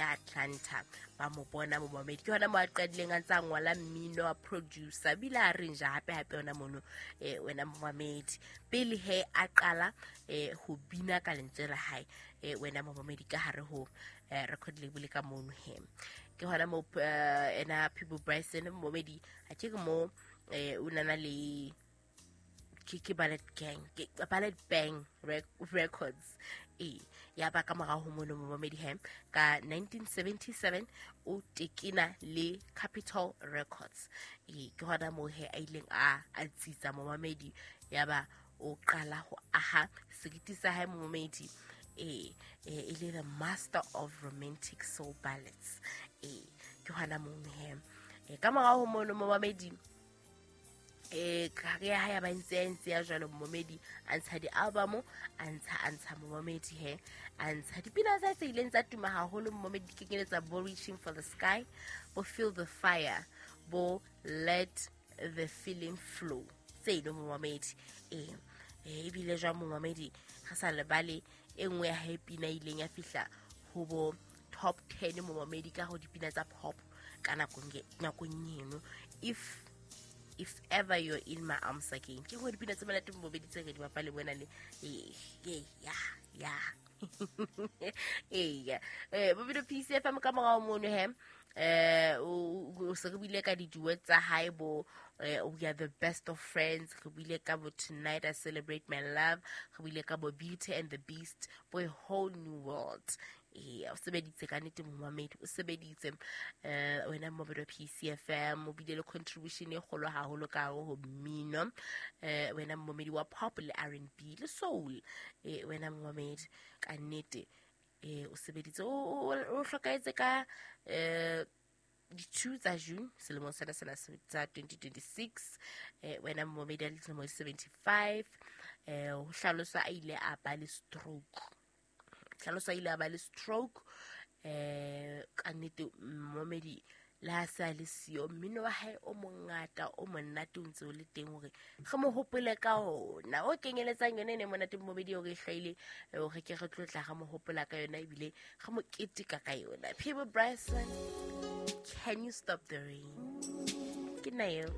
ya Atlanta. Ba mo bona momamedi, ke hona mo a qadileng a ntse a ngola mmino, a producer, bile a arrange hape hape hona mono. Wena momamedi, pele he a qala ho bina ka lentswe la hae, wena momamedi, ka hare ho record label ka mono he, ke hona mo ena Peabo Bryson momamedi, a ke mo o nana le ke Ballet Gang, ke Ballet Bang Records. Ya ba ka morao ho mono momamedi he, ka 1977 o tekena le Capitol Records. Ke hona moo he a ileng a tsitsa momamedi, ya ba o qala ho aha seriti sa hae momamedi, e le the master of romantic soul ballads. Ke hona moo he, ka morao ho mono momamedi, career ya hae ya ba ntse ya jwalo momedi, a ntsha di-album, a ntsha momamedi he, a ntsha dipina tsa tse ileng tsa tuma haholo momedi, di kenyeletsa bo Reaching for the Sky, bo Feel the Fire, bo Let the Feeling Flow, tseno momamedi. Ebile jwang momamedi, re sa lebale e nngwe ya hae pina e ileng ya fihla ho bo top 10 momamedi ka ho dipina tsa pop ka nakong eno, If Ever You're in My Arms Again. Ke nngwe dipina tse monate momedi tse re di bapale bona le ee ya eya bobilo PCFM. Ka morao mono he, o se re buile ka di-duet tsa hae bo We Are the Best of Friends, re buile ka bo Tonight I Celebrate My Love, re buile ka bo Beauty and the Beast, bo A Whole New World. Ee, o sebeditse ka nnete momamedi, o sebeditse, wena momamedi wa PCFM, o bile le contribution e kgolo haholo ka hare ho mmino, wena momamedi wa pop le R&B le soul. Wena momamedi, ka nnete o sebeditse. O hlokahetse ka di-2 tsa June selemong sena tsa 2026, wena momamedi, a le dilemo di 75. Ho hlaloswa a ile a ba le stroke, hlalosa ile a ba le stroke. Ka nnete momamedi, le ha se a le siyo, mmino wa hae o mongata o monate o ntse o le teng hore re mo hopole ka ona, o kenyeletsang yone e ne monate momedi o re e hlwaile, hore ke re tlo tla re mo hopola ka yona ebile re mo keteka ka yona. Peabo Bryson, Can You Stop the Rain, ke nna eo.